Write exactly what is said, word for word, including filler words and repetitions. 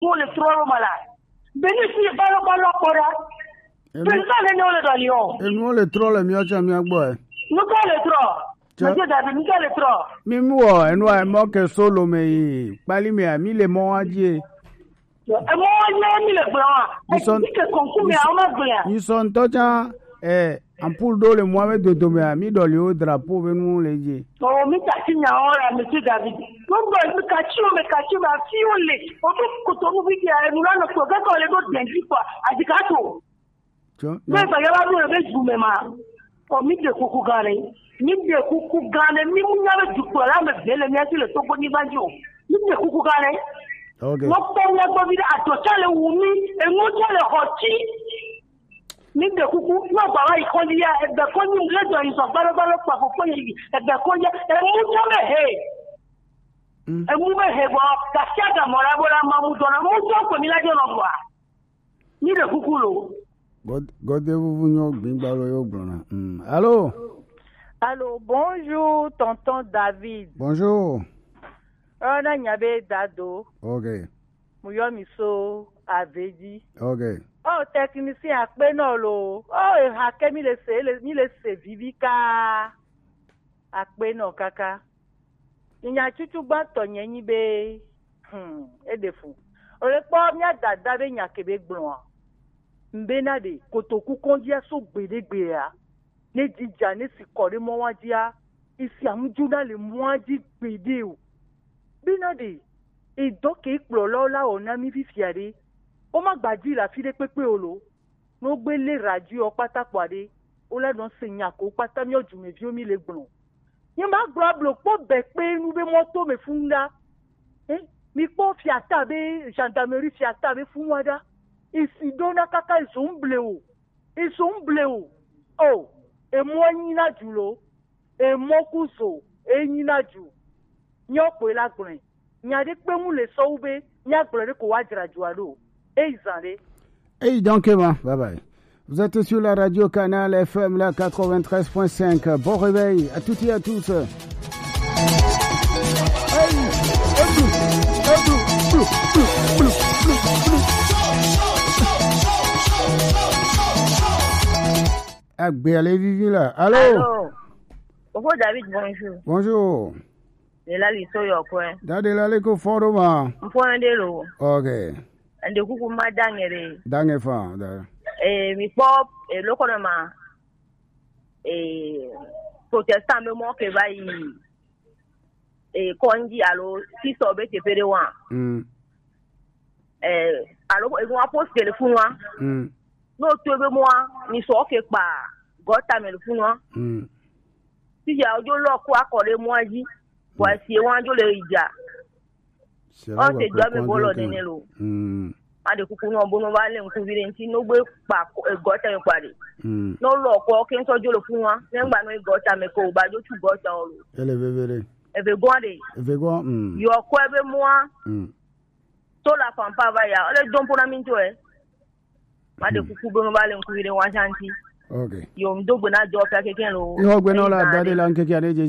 Wo le trɔ lo ma la. Beni si balo balo kpɔ ɖa. Enu Beni ka le ne wo le dɔ li o. Enu wo le trɔ le miɔ tsã mia gbɔ ɛ. Nu ka le trɔ? Tsɛ. Monsieur David, nu ka le trɔ? Mi mu wɔ enu a mɔ ke solo me yi kpali me a mi le mɔ wa dzi. Emɔ wa nye mi le gblɔ wa. Misɔn- Eti ke kɔnku me a wo ma gblɔ ya. Misɔn tɔ tsã ɛ ampul ɖo le mɔ me dodo me a mi ɖɔli wo drapeau be nu le dzi. O mi ta si nya wo la, Monsieur David. Mo gbɔ mi ka tsi o, mi ka tsi o, ma fi o le. O to koto nu bi dia enu la no ko ke ko le do denji kwa. Adi ka to. Tsɔ. Ne ba ya ba do be ju me ma. O mi de kuku gare. Mi de kuku gare, mi mu nya be dukplɔla me ve le mía si le Togo nyigba dzi o. Mi de kuku gare. Ok. Wokpɔ mía gbɔ vi ɖe, adɔ tsã le wu mí, enu tsã le xɔ tsi. Mi de kuku, ne agba va yi kɔdzi ya, egbe kɔdzi le dɔ yi zɔ gbalo gbalo kpa fofo yi, egbe kɔdzi, emu tsã me he. Mm. Emu me he bɔ, gasi aga mɔ la bo la ma mu dɔ na, mu tsɔ kpe mi la dze nɔ bɔa. Mi ɖe kuku lo. God- Gɔde vuvu nyɔ gbigba lo yo gblɔna. Mm. Allô? Allô, bonjour, tonton David. Bonjour. Oh, na nya be dado. Ok. Mu yɔ mi so Avedi. Ok. Oh, technicien akpe nɔ lo. Oh, e ha ke mi le se, le- mi le se vivi ka. Akpe nɔ kaka. Nya tutu gbãtɔ nye nyi be, hmm, eɖe fu. Ole kpɔ mía dada be nya ke be gblɔa. Mbena ɖe kotoku kɔndzia so gbeɖe gbea. Ne dzidza ne si kɔ ɖe mɔ wa dzia, isi amudzona le mɔa dzi gbeɖe o. Bena ɖe edɔ ke kplɔlawo la wɔ na mí fifia ɖe, woma gba dzi le afi ɖe kpekpe o lo. Ne wogbe lé radio kpata kpɔ aɖe, wole nɔ se nya ko kpata míawo dumeviwo mí le gblɔ. Nye ma gblɔ ablo kpɔ be kpe nu be mɔto me funu ɖa. Eh, mi kpɔ fiata be gendarmerie fiata be funu wa ɖa. Isi ɖo na kaka izo ŋble o. Izo ŋble o. O, emɔ nyi na du lo. Emɔ ku zo, enyi na du. Nyɔ kpoe la gblɔe. Nya ɖe kpe ŋu le sɔwu be míagblɔ ɖe ko woadzra dua ɖo. Eyi zã ɖe. Eyi donc ma, bye bye. Vous êtes sur la radio Canal F M, la quatre-vingt-treize point cinq. Bon réveil à toutes et à tous. Hey, edu, edu, blu, blu, blu, blu, blu. Agbe ale vivi la. Allô? Allô? Fofo David, bonjour. Bonjour. Dela li so yɔ kɔɛ. Da dela le ko fɔ ɖo ma. N fɔ ɖe lo. Ok. N de kuku ma da ŋɛ ɖe. Da ŋɛ fa da. Eh, mi kpɔ, eh, lo kɔnɔ ma. Eh, protestant be mɔ ke va yi. Eh, kɔndzi alo sisɔ be teƒe ɖe wa. Mm. Eh, alo enu wa post le funu wa. Mm. No to be mɔa, mi sɔ ke kpa gɔta me le funu wa. Mm. Ti ya ojo lɔ ko akɔ ɖe mɔa dzi. Bɔ si wa jo le idza. O te do ame bolo nene lo. Mm. Ma de kuku no bono va le nku vire nti no gbe kpa ko- eh, gɔta me kpa de. Mm. No lɔ ko ke nso jo le funu wa. Ne ngba no gɔta me ko ba jo tu gɔta o lo. Ele vevere. Eve gɔn de. Eve gɔn. Mm. Yo ko ebe mɔa. Mm. To la pampa va ya. Ole dompo na minto e. Ma de kuku bono va le nku vire wa shanti. Ok. Yo mdo gbena jo fa keke lo. Yo gbena la dade la nkeke ade je